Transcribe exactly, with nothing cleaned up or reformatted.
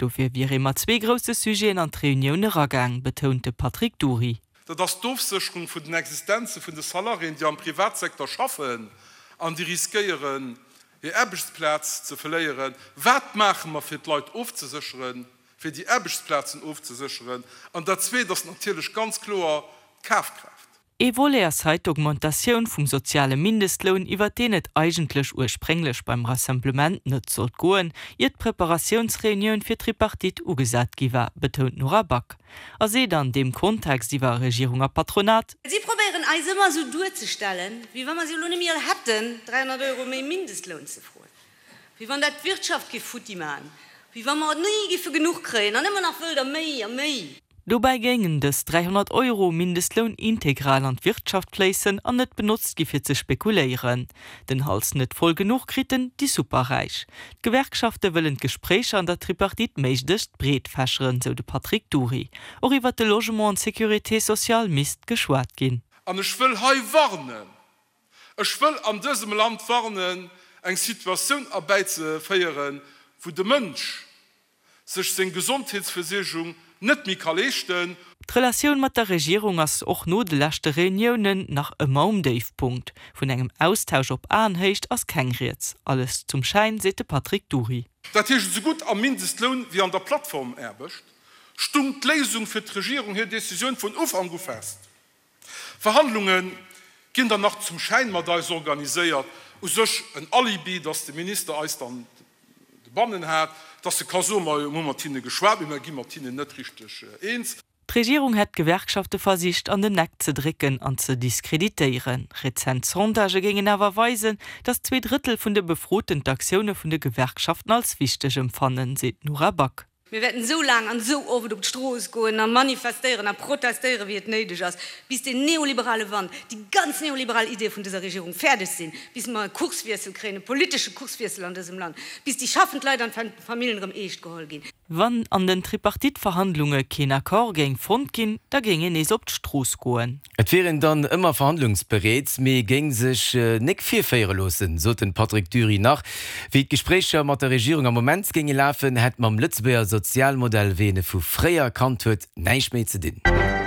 Dofir wier ee mat zwee grousse Sujeten an d'Reunioun eragaang, betount de Patrick Dury. Dat ass d'Ofsécherung vun den Existenze vun de Salariéen, déi am Privatsecteur schaffen an déi riskéieren, hir Aarbechtsplaz ze verléieren. Wat maache mer, fir d'Leit ofzesécheren, fir déi Aarbechtsplazen ofzesécheren? An dat Zweet ass natierlech ganz kloer d'Kafkraaft. Ee Volet ass hei d'Augmentatioun vum soziale Mindestloun, iwwer deen et eigentlech ursprénglech beim Rassemblement net sollt goen, ier d'Preparatiounsreunioun fir d'Tripartite ugesat gi war, betount d'Nora Back. A seet an deem Kontext iwwer Regierung a Patronat. Si probéieren eis ëmmer esou duerzestellen, wéi wa mer se elo net méi all hätten, dräihonnert Euro méi Mindestloun ze froen, wéi wann dat d'Wirtschaft géif futti maachen, wéi wa mer ni géife genuch kréien an ëmmer nach wëll der méi a méi. Dobäi géingen dës dräihonnert Euro Mindestloun integral an d'Wirtschaft fléissen an net benotzt gi fir ze spekuléieren. Den Hals net voll genuch kriten déi Superräich. D'Gewerkschafte wëllen d'Gespréicher an der Tripartite méiglechst breet fächeren, sou de Patrick Dury. Och iwwer de Logement an d'Sécurité sociale misst geschwat ginn. An ech wëll hei warnen, ech wëll an dësem Land warnen, eng Situatioun erbäizeféieren, wou de Mënsch sech seng Gesondheetsversuergung net méi ka leeschten. D'Relatioun mat der Regierung ass och no de leschte Reuniounen nach ëmmer um Déifpunkt. Vun engem Austausch op Aenhéicht ass keng Rieds. Alles zum Schäin, seet de Patrick Dury. Dat heescht, esougutt am Mindestloun wéi an der Plattformaarbecht stung d'Léisung fir d'Regierung hir Decisioun vun Ufank u fest. Verhandlunge ginn dann nach zum Schäin mat eis organiséiert, u sech en Alibi, datt de Minister eis dann de bannen hat, datt e ka soen, Majo, mir hu mat hinne geschwat, mee mir gi mat hinnen net richteg eens. D'Regierung hätt d'Gewerkschafte versicht an den Eck ze drécken an ze diskreditéieren. Rezent Sondagë géingen awer weisen, datt zwee Drëttel vun de Befroten d'Aktioune vun de Gewerkschaften als wichteg empfannen, seet d'Nora Back. Mir wäerten esou laang an esou oft op d'Strooss goen a manifestéieren a protestéieren, wéi et néideg ass, bis deen neoliberale Wand, déi ganz neoliberal Ideeë vun dëser Regierung fäerdeg sinn, bis mer e Kurswiessel kréien, e politesche Kurswiessel an dësem Land, bis déi schaffend Leit an d'Famillen erëm eescht geholl ginn. Wann an den Tripartite-Verhandlunge keen Accord géing fonnt ginn, da géing een nees op d'Strooss goen. Et wier een dann ëmmer verhandlungsbereet, mee géing sech nek virféiere loossen, sot den Patrick Dury nach. Wéi d'Gespréicher mat der Regierung am Moment géinge lafen, hätt mam Lëtzebuerger Sozialmodell, wéi een e vu fréier kannt huet, näischt méi ze dinn.